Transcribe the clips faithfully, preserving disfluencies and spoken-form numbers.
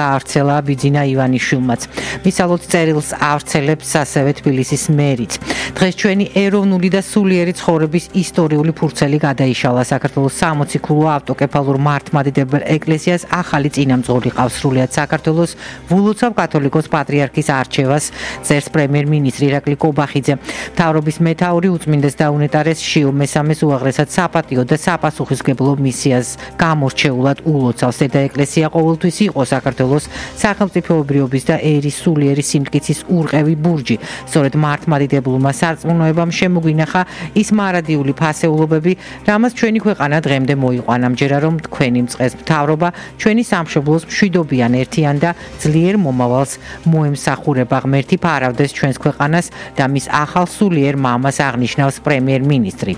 გაავრცელა ბიძინა ივანიშვილმაც. მისალოთ წერილს ავრცელებს ასევე თბილისის მერიც. დღეს ჩვენი ეროვნული და სულიერი ცხოვრების ისტორიული ფურცელი გადაიშალა. საქართველოს სამოციქულო ავტოკეფალურ მართლმადიდებელ ეკლესიას ახალი წინამძღოლი ყავს. სრულიად საქართველოს ვულოცავ კათოლიკოს პატრიარქის არჩევას წერს პრემიერ-მინისტრი ირაკლი კობახიძე. მთავრობის მეთაური უწმინდეს და უნეტარეს შიო მესამეს უაღრესად საპატიო და საპასუხისმგებლო მისიას გამორჩეულად ულოცავს. და ეკლესია ყოველთვის იყო საქართველოს სახელმწიფოებრიობის და ერის სულიერი სიმტკიცის ურყევი ბურჯი. სწორედ მართლმადიდებლურმა სარწმუნოებამ შემოგვინახა ის მარადიული ფასეულობები, რამაც ჩვენი ქვეყანა დღემდე მოიყვანა. ამჯერა რომ თქვენი მწყეს მთავრობა ჩვენი სამშობლოს მშვიდობიან ერთიან და ძლიერ მომავალს მოემსახურება. ღმერთი ფარავდეს ჩვენს ქვეყანას და მის ახალ სულიერ მამას აღნიშნავს პრემიერ-მინისტრი.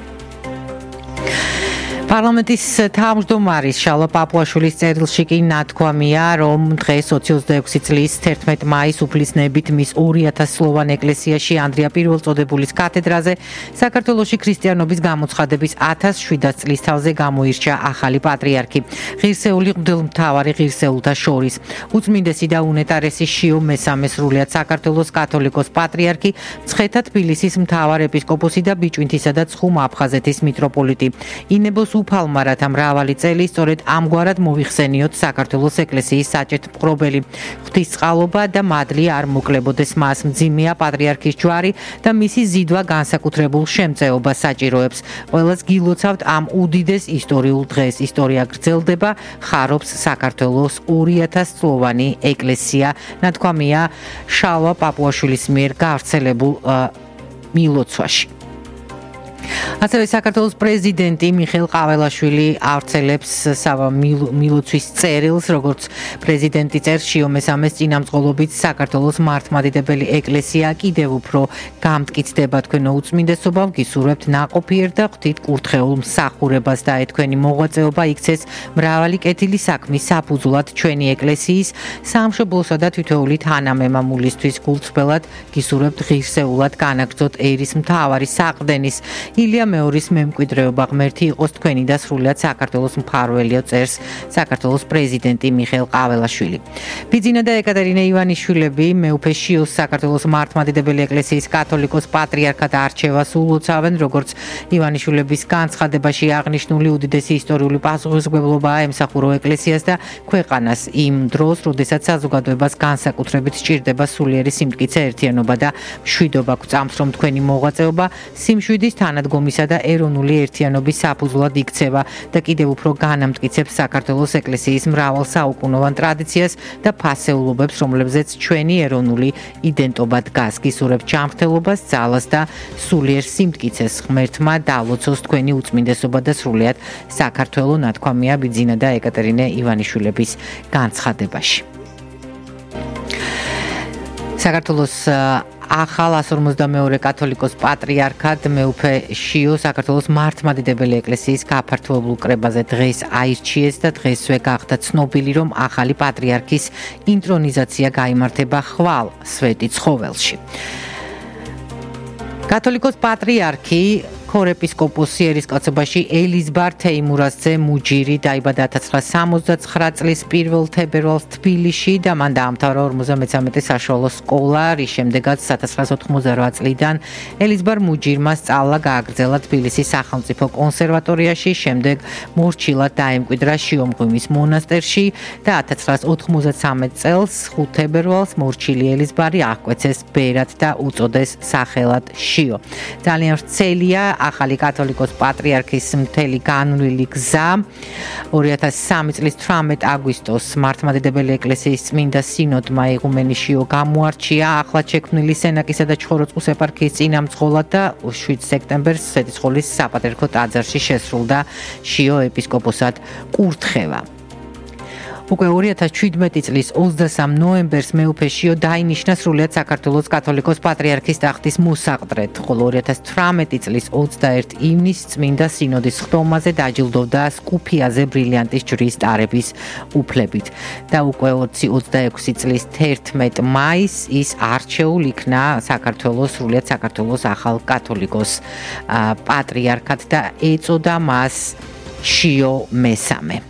პარლამენტის თავმჯდომარის შალვა პაპუაშვილის წერილში კი ნათქვამია, რომ დღეს ოცდაექვსი წლის თერთმეტ მაისს უფლისნებით მის ორი ათას სლოვან ეკლესიაში ანდრია პირველწოდებულის კათედრაზე საქართველოში ქრისტიანობის გამოცხადების ათას შვიდას წლისთავზე გამოირჩა ახალი პატრიარქი. ღირსეული მღვდელმთავარი ღირსეულთა შორის. უწმინდესი და უნეტარესი შიო მესამე სრულიად საქართველოს კათოლიკოს პატრიარქი, მცხეთა თბილისის მთავარ ეპისკოპოსი და ბიჭვინთისა და ცხუმ-აფხაზეთის მიტროპოლიტი. ინებოს უფალმა რათა მრავალი წელი სწორედ ამგვარად მოიხსენიოთ საქართველოს ეკლესიის საჭეთ მყრობელი. ღვთისწყალობა და მადლი არ მოკლებოდეს მას. მძიმეა პატრიარქის ჯვარი და მისი ზიდვა განსაკუთრებულ შემწეობას საჭიროებს. ყველას გილოცავთ ამ უდიდეს ისტორიულ დღეს. ისტორია გრძელდება, ხარობს საქართველოს ორი ათას წლოვანი ეკლესია. ნათქვამია შალვა პაპუაშვილის მიერ გავრცელებულ მილოცვაში. ასევე საქართველოს პრეზიდენტი მიხეილ ყაველაშვილი ავრცელებს მილოცვის წერილს, როგორც პრეზიდენტი წერს შიო მესამეს წინამძღოლობით საქართველოს მართლმადიდებელი ეკლესია კიდევ უფრო გამტკიცდება. თქვენო უწმინდესობა, ვგისურვებთ ნაყოფიერ და ღვთით კურთხეულ მსახურებას და თქვენი მოღვაწეობა იქცეს მრავალი კეთილი საქმის საფუძვლად ჩვენი ეკლესიის სამშობლოსა და თითოეული თანამემამულისთვის. გულწრფელად გისურვებთ ღირსეულად განაგრძოთ ერის მთავარი საყრდენის ილია მეორის მემკვიდრეობა. ღმერთი იყოს თქვენი და სრულიად საქართველოს მფარველიო, წერს საქართველოს პრეზიდენტი მიხეილ ყაველაშვილი. ბიძინა და ეკატერინე ივანიშვილები მეუფე შიოს საქართველოს მართლმადიდებელი ეკლესიის კათოლიკოს პატრიარქად არჩევას ულოცავენ, როგორც ივანიშვილების განცხადებაში აღნიშნული უდიდესი ისტორიული პასუხისმგებლობაა ემსახურო ეკლესიას და ქვეყანას იმ დროს, როდესაც საზოგადოებას განსაკუთრებით სჭირდება სულიერი სიმტკიცე, ერთიანობა და მშვიდობა. გვწამს, რომ თქვენი მოღვაწეობა სიმშვიდის თანადგომისა და ეროვნული ერთიანობის საფუძვლად იქცევა და კიდევ უფრო განამტკიცებს საქართველოს ეკლესიის მრავალ საუკუნოვან ტრადიციას და ფასეულობებს, რომლებზეც ჩვენი ეროვნული იდენტობა დგას. გისურვებთ ჯანმრთელობას, ძალას და სულიერ სიმტკიცეს. ღმერთმა დაალოცოს თქვენი უწმინდესობა და სრულიად საქართველო, ნათქვამია ბიძინა და ეკატერინე ივანიშვილების განცხადებაში. საქართველოს ახალ ას ორმოცდამეორე კათოლიკოს პატრიარქად მეუფე შიო საქართველოს მართლმადიდებელი ეკლესიის გაფართოებულ კრებაზე დღეს აირჩიეს და დღესვე გახდა ცნობილი, რომ ახალი პატრიარქის ინტრონიზაცია გაიმართება ხვალ სვეტი ცხოველში. კათოლიკოს პატრიარქი ქორეპისკოპოსი ერისკაცობაში ელიზბარ თეიმურაზძე მუჯირი დაიბადა ათას ცხრაასი სამოცდაცხრა წლის პირველ თებერვალს თბილისში და მან დაამთავრა ორმოცდამეცამეტე საშუალო სკოლა, რის შემდეგაც ათას ცხრაასი ოთხმოცდარვა წლიდან ელიზბარ მუჯირმა სწავლა გააგრძელა თბილისის სახელმწიფო კონსერვატორიაში, შემდეგ მორჩილად დაემკვიდრა შიომღვიმის მონასტერში და ათას ცხრაასი ოთხმოცდამეცამეტ წელს ხუთ თებერვალს მორჩილი ელიზბარი აღკვეცეს ბერად და უწოდეს სახელად შიო. ძალიან ვრცელია ახალი კათოლიკოს პატრიარქის მთელი განვლილი გზა. ორი ათას სამი წლის თვრამეტ აგვისტოს მართლმადიდებელი ეკლესიის წმინდა სინოდმა იღუმენი შიო გამოარჩია ახლად შექმნილი სენაკისა და ჩხოროწყუს ეპარქიის წინამძღოლად და შვიდ სექტემბერს სვეტიცხოვლის საპატრიარქო ტაძარში შესრულდა შიო ეპისკოპოსად კურთხევა. უკვე ორი ათას ჩვიდმეტი წლის ოცდასამ ნოემბერს მეუფე შიო დაინიშნა სრულიად საქართველოს კათოლიკოს პატრიარქის ტახტის მოსაყდრედ, ხოლო ორი ათას თვრამეტი წლის ოცდაერთი ივნისს წმინდა სინოდის ხტომაზე დაჯილდოვდა სკუფიაზე ბრილიანტის ჯვრის ტარების უფლებით და უკვე ოცდაექვსი წლის თერთმეტ მაისს ის არჩეულ იქნა საქართველოს სრულიად საქართველოს ახალ კათოლიკოს პატრიარქად და ეწოდა მას შიო მესამე.